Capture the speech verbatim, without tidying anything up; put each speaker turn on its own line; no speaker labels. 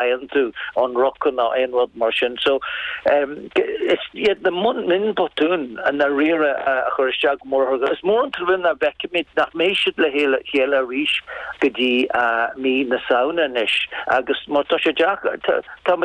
Faigheann tú an rocin ná aon rud mar sin so um, is iad na mionbhotúin an na riire a chur isteach mór is mór an trua nach bhfeicfimid nach mbeidh siad le chéile chéile arís go dtí uh, mí na Samhna anois agus má tá sé tá